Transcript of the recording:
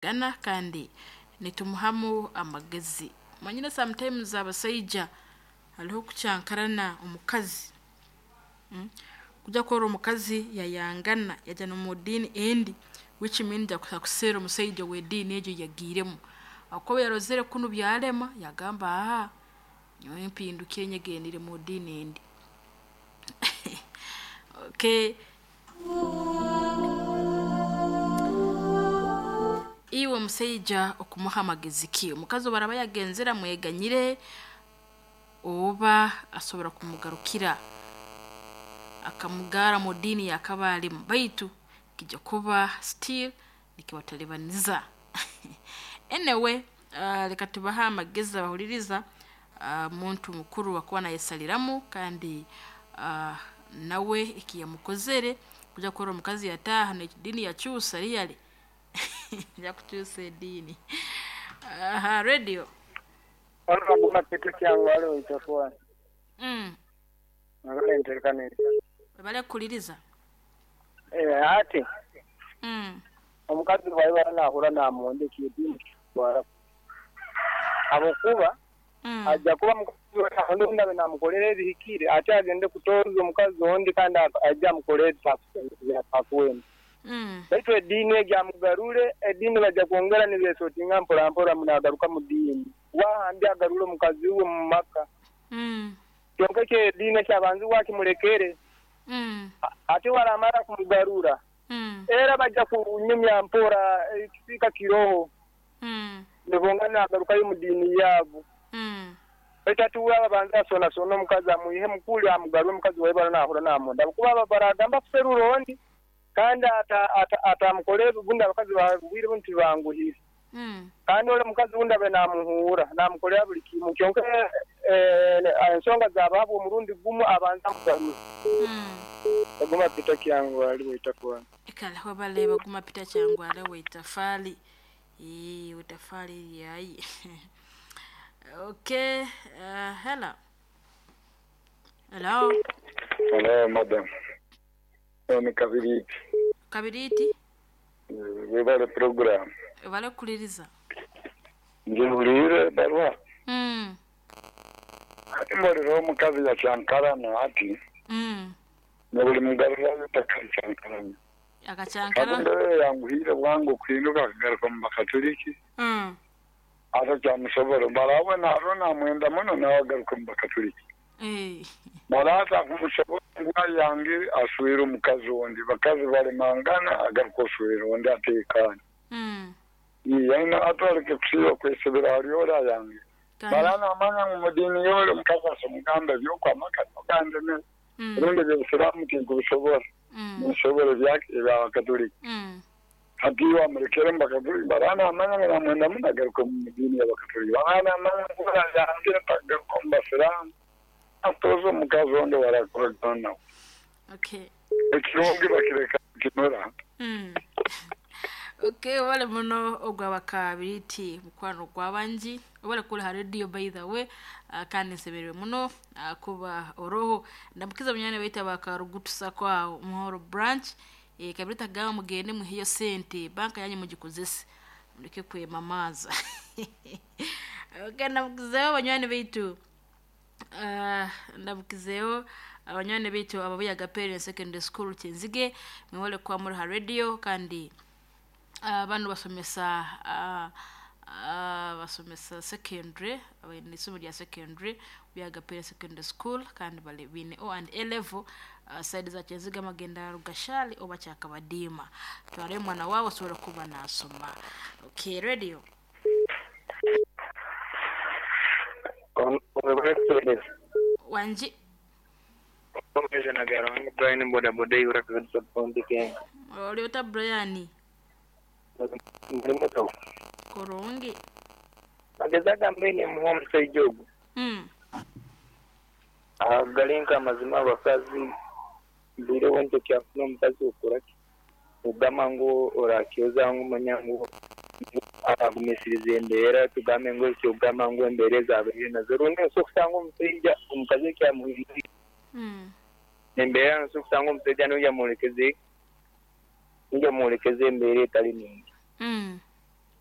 Gana kandi nitumuhamu amagezi. Manyire sometimes abasaija hariho okukyankarana omukazi, kujya kurora omukazi yayangana yajya n'omu diini endi, which means akuseera omusaija ow'ediini egyo eyi yagiiremu, habwokuba yarozere kunu byalema, yagamba haa nyowe mpindukire nyegendere mu diini endi. Okay. Iwe omusaija okumuha amagezi ki? Omukazi obu araaba yagenzere amweganyire oba asobora kumugarukira akamugarra mu diini ey'akaba alimu, baitu kiija kuba still nikibatalibaniza. Anyway, leka tubahe amagezi abahuliriza, muntu mukuru akuba nayesaliramu kandi nawe eki yamukozere kujya kurora omukazi yataaha n'ediini yakyusa really yakukyusa ediini. Radio. Webale kuhuliriza. Ati omukazi bwaiba nahura namwenda ekyo ediini tikitwara habwokuba aija kuba mukazi we ondi abe namukolera ebihikire ate agende kutoza omukazi ondi kandi aije amukolere ebyatakwenda. Baitu ediini egyo amugarure, ediini baija kwongera nibesotinga mpora mpora nagaruka mu diini. Wahandi agarure omukazi we omu maka. Kyonka ekyo ediini ekyabanzibwe akimulekere. Ate bwaramara kumugarura, era baija kunyumya mpora ekisiika kiroho. Nibongera nagarukayo omu diini yaabu. Baitu hati we abanze asoonasoone omukazi amwihemu kuli amugarure omukazi waibara nahura namwenda. Habwokuba baragamba akuserura ondi kandi atamukolera obundi abakazi bobwire bunu tibanguhire. Kandi ole omukazi ondi abe namuhuura, namukolera buli kimu. Kyonka ensonga zabahabwa omurundi gumu abanze amugarure. Baguma Peter Kyangwali Waitafwali. Kale webale Baguma Peter Kyangwali Waitafali. Waitafali lyayi. Okay, hello. Hello. Hello madam. Ono Kabiriiti. Kabiriiti. Webale program. Webale kukuliriza. Nze mbuliire ebarua. Ati mbolera omukazi yakyankalana ati nobulimugarurayo takakyankalana. Akakyankalana? Ati embeera eyanguhiire bwangu okuhinduka akagaruka omu Bakatuliki. Ati kyamusobora. Mara we narora namwenda muno nawe agaruka omu Bakatuliki. Mara ati akumusobora ngu ayange aswere omukazi ondi. Bakazi balemangana agaruka oswera ondi atekane. Aine ati aleke kusiiba kwesibira hali ole ayange. Mara namanya ngu mu diini yole omukazi asobora ebyokwamaka nogandemere. Rundi ebyobusiraamu tinkubisobora. Ninsobora ebyabakatuliki. Hati iwe amulekere omu Bakatuliki, mara namanya ngu namwenda muno agaruke omu diini y'Abakatuliki. Mara namanya ngu ayangire tagaruka omu Basiraamu, atoze omukazi ondi owarakoragana nawe. Ekirungi bakireka nikimera. Okay, webale muno ogwa Kabiriiti mukwano gwabangi. Webale kuri ha radio by the way, kandi nsemereirwe muno kuba oroho. Ndamukiza munywani waitu aba Karugutu Sacco aho Muhoro branch. Kabiriiti agamba mugende muheyo sente, banka yanyu mugikozese. Mureke kwemamaaza. Okay, ndamukizeho banywani baitu. Ndamukizeho abanywani baitu ababuyaga Parents Secondary School Kyenzige, mwebale kuba muri ha radio kandi banu basomesa basomesa secondary, baine isomo rya secondary Buyaga Parents Secondary School kandi bali baine O and A level side za Kyenzige amagenda Rugashali oba Kyakabadiima. Twarayo omwana waawe asobora kuba nasoma. Okay, radio. Wangi. Brian bodaboda eibura Sub-county Kenga. Oli ota Brian? Ndi muto. Kurungi. Magezi agambe nemuwa omusaija ogwo. Gali nk'amazima abakazi mbaireho nti okyafuna omukazi okora ki? Ogamba ngu orakyoza ngu manya ngu aragumisiriza embeera tugambe ngu ekyokugamba ngu embeera ezabaire nazo rundi osobola okusanga omusaija omukazi ekyamuhindwire embeera nosobola okusanga omusaija niwe yamworekeze embeera etali nungi.